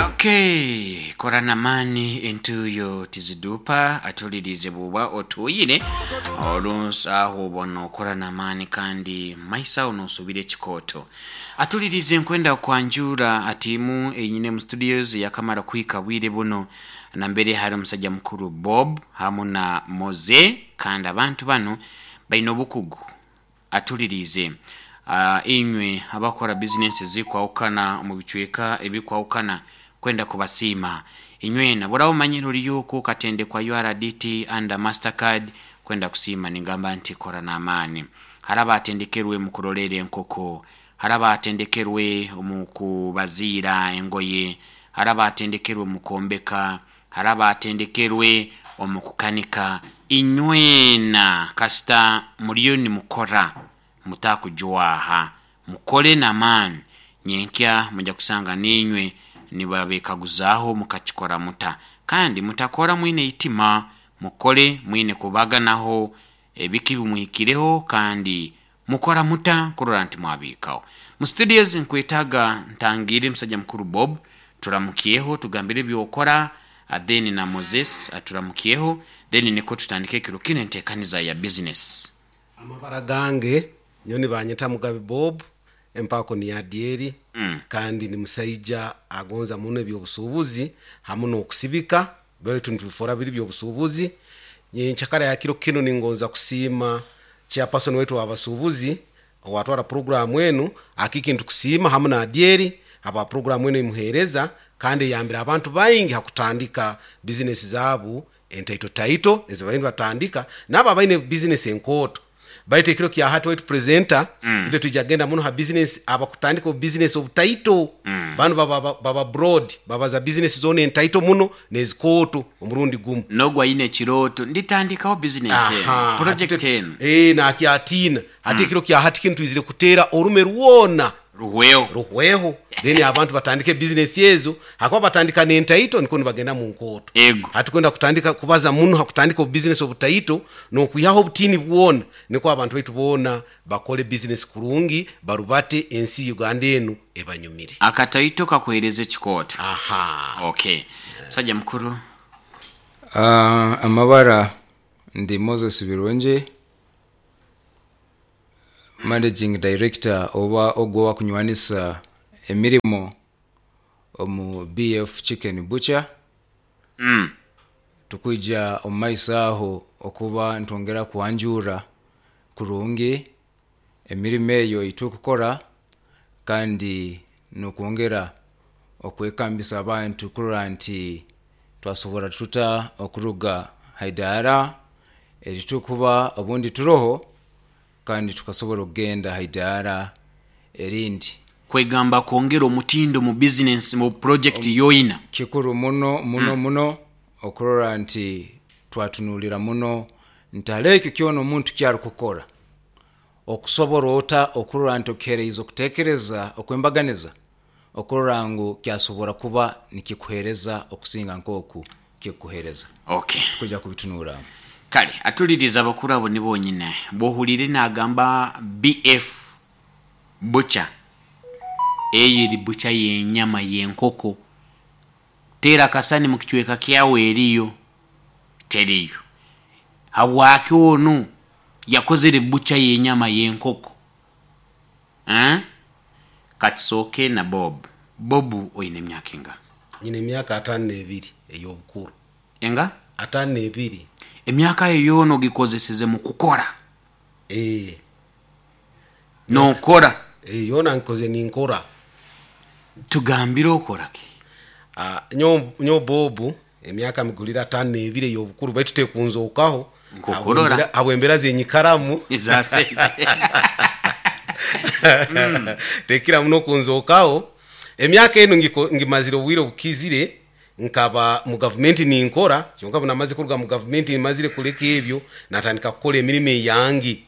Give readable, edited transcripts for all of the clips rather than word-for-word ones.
Okay, kora n'amaani entuuyo tiziduupa atulirize bw'oba otuuyire olunsi aho oba nookora n'amaani kandi maiso aho noosubira ekikooto. Atulirize nkwenda kwanjura tiimu enyine mu studios yakamara kuhika bwire buno nambere hari omusajja mukuru Bob hamu na Moze kandi abantu banu baine obukugu. Atulirize inywe abakora bizinesi ezikwahukana omu bicweka ebikwahukana kwenda kubasiima inywena. Bworaba omanyire oriyo oku okatendekwa URDT under Mastercard kwenda kusiima ningamba nti kora n'amaani. Hariho abatendekerwe omu kuroleera enkoko, hariho abatendekerwe omu kubaziira engoye, hariho abatendekerwe omu kwombeka, hariho abatendekerwe omu kukanika. Inywena kasita muriyo nimukora mutakujwaha, mukore n'amaani nyenkya mwija kusanga nainywe nibabekaguzaaho mukakikora muta. Kandi mutakora mwine eitima, mukore mwine kubaganaho ebiki ebimuhikireho kandi mukora muta kurora nti mwabihikaho. Mu studios nkwetaaga ntangiire musajja mukuru Bob turamukyeho tugambire ebyokora then na Moses aturamukyeho then nikwo tutandike ekiro kinu enteekaniza ya business. Amabara gange nyowe nibanyeta Mugabe Bob, empaako ni Adyeri kandi ndi musaija agonza muno eby'obusuubuzi hamu n'okusibika baitu nitubifora biri by'obusuubuzi. Nyenkyakara ya kiro kinu ningonza kusiima chairperson waitu ow'abasuubuzi owatwara puroguraamu enu, Akiiki nitukusiima hamu na Adyeri habwa puroguraamu enu eimuheereza kandi eyambire abantu baingi ha kutandika bizinesi zaabu entaito taito ezi bariyo nibatandika n'abo abaine bizinesi enkooto. Baitu ekiro kya hati waitu presenter, itwe twija kugenda muno ha bizinesi abakutandika obubizinesi obutaito. Banu baba baba broad, babaza bizinesi zoona entaito muno n'ezikooto omurundi gumu. N'ogu aine ekirooto, nditandikaho bizinesi enu, Aha, hati project enu. Ee, nakyatiina. Hati ekiro kya hati kinu twizire kuteera orume rwona. Ruhweho. Ruhweho. Then abantu batandike bizinesi ezo, hakuba batandika n'entaito nikwo nibagenda mu nkooto. Ego. Hati kwenda kutandika kubaza muno ha kutandika obubizinesi obutaito n'okwihaho obutiini bwona nikwo abantu baitu boona bakole bizinesi kurungi barubate ensi Uganda enu ebanyumire. Akataito kakuhereza ekikooto. Aha. Okay. Musajja mukuru. Amabara ndi Moses Birungi. Managing Director oba ogwo owakunywanisa emirimo omu BF Chicken Butcher. Tukwija omu maiso aho okuba nitwongera kwanjura kurungi emirimo eyo eiturikukora kandi nokwongera okwekambisa abantu kurora nti twasobora tuta okuruga haidara eriturikuba obundi turoho kandi tukasobora okugenda ha idaara erindi. Kwegamba kwongera omutindo mu bizinensi mu purojekiti yoina. Kikuru muno muno muno okurora nti twatunuulira muno nti hariho ekyo kyona omuntu kyarukukora, okusobora ota okurora nti okihereize okutekereza okwembaganiza okurora ngu kyasobora kuba nikikuhereza okusinga nkoku kikuhereza. Okay. Tukwija kubitunuuramu. Kale atulirize abakuru abo ni bonyine. Bwohurire nagamba BF butcher, eyo eri butcher y'enyama y'enkoko. Teera akasani mu kicweka kyawe eriyo? Teriyo. Habwaki onu yakozere butcher y'enyama y'enkoko? Eeh katusooke na Bob. Bob oine emyaka enga? Nyine emyaka ataano n'ebiri ey'obukuru. Enga? Ataano n'ebiri. Emyaka eyo yoona ogikozeseze mu kukora? Ee. Nookora? Ee, yoona ngikozire ninkora. Tugambire okora ki? Nyowe Bob, emyaka migulire ataano n'ebiri ey'obukuru baitu tekunzookaho Nkokurora. habw'embeera z'enyikaramu. Eza sente. Tekira muno kunzookaho. Emyaka enu ngimazire obwire obukizire nkaba mu gavumenti ninkora, kyonka obu namazire kuruga mu gavumenti mazire kuleka ebyo, natandika kukora emirimo eyange.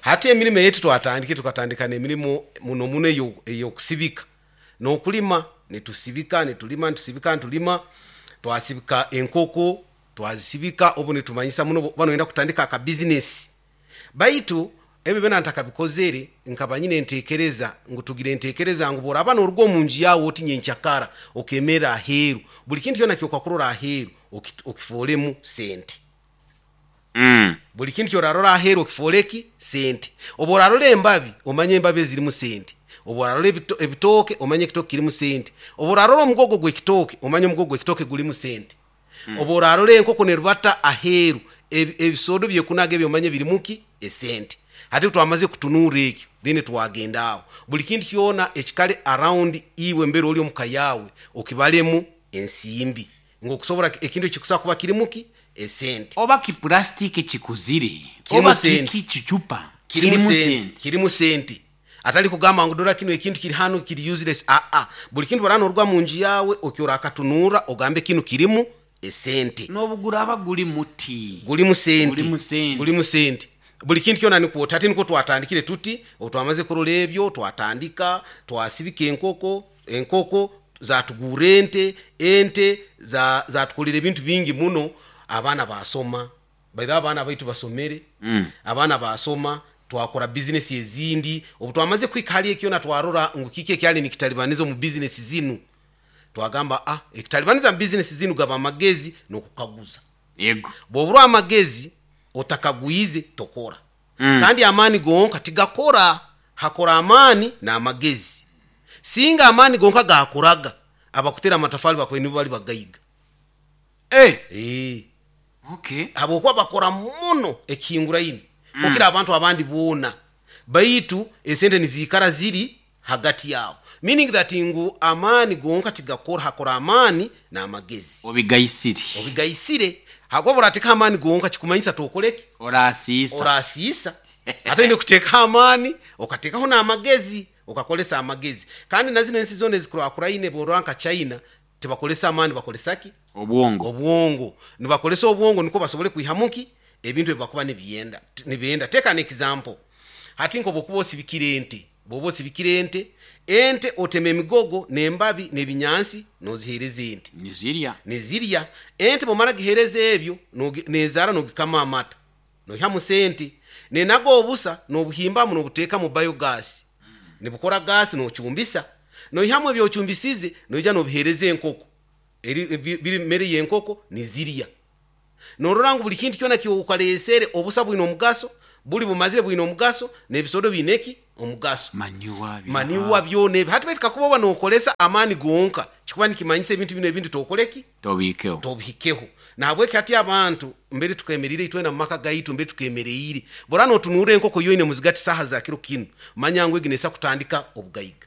Hati emirimo eyaitu twatandikire, tukatandika n'emirimo muno muno ey'okusibika. N'okulima, nitusibika nitulima, nitusibika nitulima, twasibika enkoko, twazisibika obu nitumanyisa muno obu oba noyenda kutandika akabizinesi. Baitu. Ebyo byona ntakabikozere, nkaba nyine entekereza ngu tugire entekereza ngu bworaba noruga omu nju yawe oti nyenkyakara okemerra aheeru, buli kintu kyona kyokakurora aheeru okifoolemu sente. Buli kintu kyorarora aheeru okifoole ki? Sente. Obu orarora embabi, omanye embabi ezirimu sente. Obu orarora ebitooke, omanye ekitooke kirimu sente. Obu orarora omugogo gw'ekitooke, omanye omugogo gw'ekitooke gulimu sente. Obu orarora enkoko nerubata aheeru, ebisoodo byekunaga ebi omanye birimu ki? Esente. Hati obu twamaze kutunurra ekyo, then twagenda aho. Buli kintu kyona ekikali around iwe mbere ori omuka yaawe, okibalemu ensimbi. Ngu okusobora ekintu ekikusobora kuba kirimu ki? Esente. Oba kipurasitiki kikuzire, Kirimu oba sente. kiki kicupa, Kirimu kirimu sente. sente. Kirimu sente. Atali kugamba ngu dora kinu ekintu kiri hanu kiri useless, aa. Buli kintu oraba noruga munju yaawe okyo orakatunurra ogambe kinu kirimu esente. N'obu guraba guli muti. Gulimu sente. Gulimu sente. Gulimu sente. Buli kintu kyona nikwo oti. Hati nikwo twatandikire tuti, obu twamaze kurora ebyo, twatandika, twasibika enkoko, enkoko zatugurra ente, ente zatukolera ebintu bingi muno, abaana baasoma. By the way abaana baitu basomere, abaana baasoma, twakora bizinesi ezindi. Obu twamaze kuhika hali ekyo kyona twarora ngu kiki ekyali nikitalibaniza omu bizinesi zinu, twagamba ekitalibaniza mu bizinesi zinu gaba amagezi n'okukaguza. Yego. Bw'oburwa amagezi otakagwize tokora. Kandi amaani gonka tigakora, hakora amaani n'amagezi. Singa amaani gonka gakoraga, abakutera amatafali bakubaire nibo bali bagaiga. Habwokuba bakora muno ekihinguraine kukira abantu abandi boona, baitu esente niziikara ziri hagati yaabo. Meaning that ngu amaani gonka tigakora, hakora amaani n'amagezi. Obigaisire. Obigaisire. Habwokuba orateekaho amaani gonka kikumanyisa tokore ki? Orasiisa. Orasiisa. Hati oine kuteekaho amaani, okateekaho n'amagezi, okakoresa amagezi. Kandi na zinu ensi zoona ezikurakuraine bworora nka China, tibakoresa amaani, bakoresa ki? Obwongo. Obwongo. Nibakoresa obwongo nukwo basobole kwihamu ki? Ebintu ebi bakuba nibenda. Take an example. Hati nk'obwokuba osibikire ente, bwoba osibikire ente, ente otema emigogo n'embabi n'ebinyansi nozihereza ente. Nizirya. Nizirya. Ente bwomara gihereza ebyo, nezara nogikama amata. Noihamu sente. Nenaga obusa nobuhimbamu nobuteeka mu biogas. Nibukora gas nocumbisa. Noihamu ebyocumbisize noija nobihereza enkoko. Biri mere y'enkoko nizirya. Norora ngu buli kintu kyona kyokalesere obusa bwine omugaso, buli bumazire bwine omugaso, n'ebisodo biine ki? Omugaso. Manure. Manure byona ebi. Hati baitu kakuba oba nokoresa amaani gonka, kikuba nikimanyisa ebintu binu ebindi tokore ki? Tobihikeho. Tobihikeho. Nahabweki hati abantu mbere tukemerire itwena mu maka gaitu mbere tukemereire. Bora notunurra enkoko yoine muzigati saaha za kiro kinu, manya ngu egi neesa kutandika obugaiga.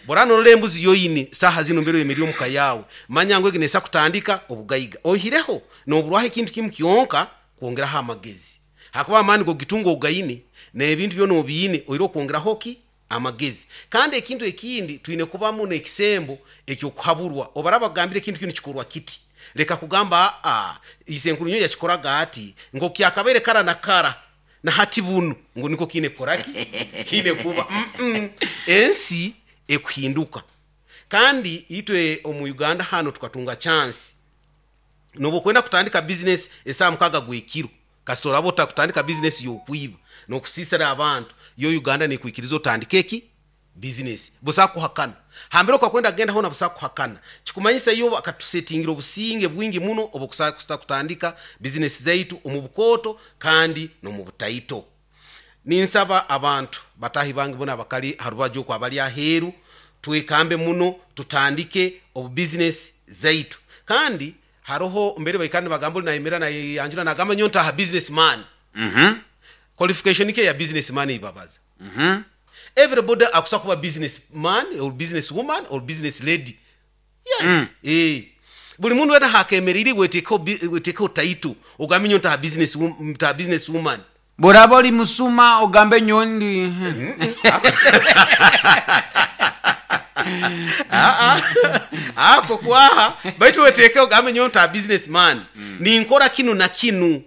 Bora norora embuzi yoine saaha zinu mbere oyemerire omuka yawe, manya ngu egi neesa kutandika obugaiga. Oihireho noburwaho ekintu kimu kyonka kwongeraho amagezi. Hakuba amaani gogitunga ogaine, n'ebintu byona obiine, oihireho kwongeraho ki? Amagezi. Kandi ekintu ekindi twine kubamu n'ekisembo eky'okuhaburwa. Obaraba bakugambire ekintu kinu kikorwa kiti, leka kugamba isenkuru nyowe yakikoraga ati, nko kyakabaire kara na kara, na hati bunu ngu niko kiine kukora ki? Kiine kuba. Ensi ekuhinduka. Kandi itwe omu Uganda hanu tukatunga chance. Nobu okwenda kutandika business esaaha 6 gw'ekiro, kasita oraba otakutandika business y'okwiba n'okusiisira abantu, yo Uganda nekwikiriza otandike eki? Business. Busaho kuhakana. Hambere okakwenda kugenda hoona busaho kuhakana. Kikumanyisa yo bakatusetingira obusinge bwingi muno obukusata kutandika business zaitu omu bukooto kandi n'omu butaito. Ninsaba abantu batahi bange bona abakali ha rubaju oku abali aheeru, twekambe muno tutandike obu business zaitu. Kandi haroho mbere baikara nibagamba oli nayemera nayanjura nagamba nyowe ntaha business man. Qualification ki eya business man eibabaza? Everybody akusobola kuba business man or business woman or business lady. Yes. Buli mundu wena hakemereire wetekeho title ogambe nyowe ntaha business ntaha business woman. Bworaba oli musuma ogambe nyowe ndi. Ako kwaha baitu wetekeho ogambe nyowe ntaha business man. Ninkora kinu na kinu.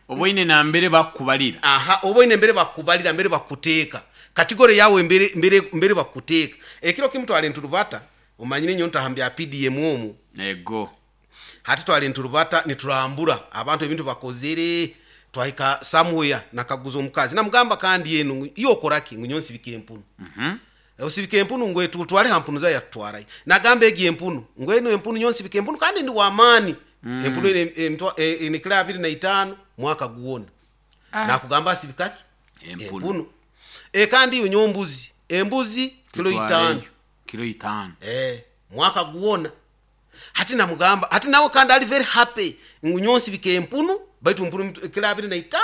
Oboine na mbere bakukubalira. Aha, oboine mbere bakukubalira, mbere bakukuteeka. Kategori yawe mbere bakukuteeka. Ekiro kimu twali nturubata, omanyire nyowe ntaha mbya PDM omu. Ego. Hati twali nturubata niturambura abantu ebintu bakozere. Twahika somewhere, nakaguza omukazi, namugamba, kandi eno ngu, iyo okoraki? Ngu nyowe nsibika empunu. Osibika empunu? Ngwe tutwale ha mpunu zayo. Yatutwarayo, nagamba egi empunu, ngu eno empunu nyowe nsibika empunu kandi ndi wamaani. Empunu eno ene kilo 25 mwaka gwona. Nakugamba asibikaki? Empunu. Empunu. Kandi iyo nyowe mbuzi, embuzi kilo 5. Kilo 5. Mwaka gwona. Hati namugamba, hati nawe kandi ali very happy ngu nyowe nsibika empunu, baitu empunu kilo 25.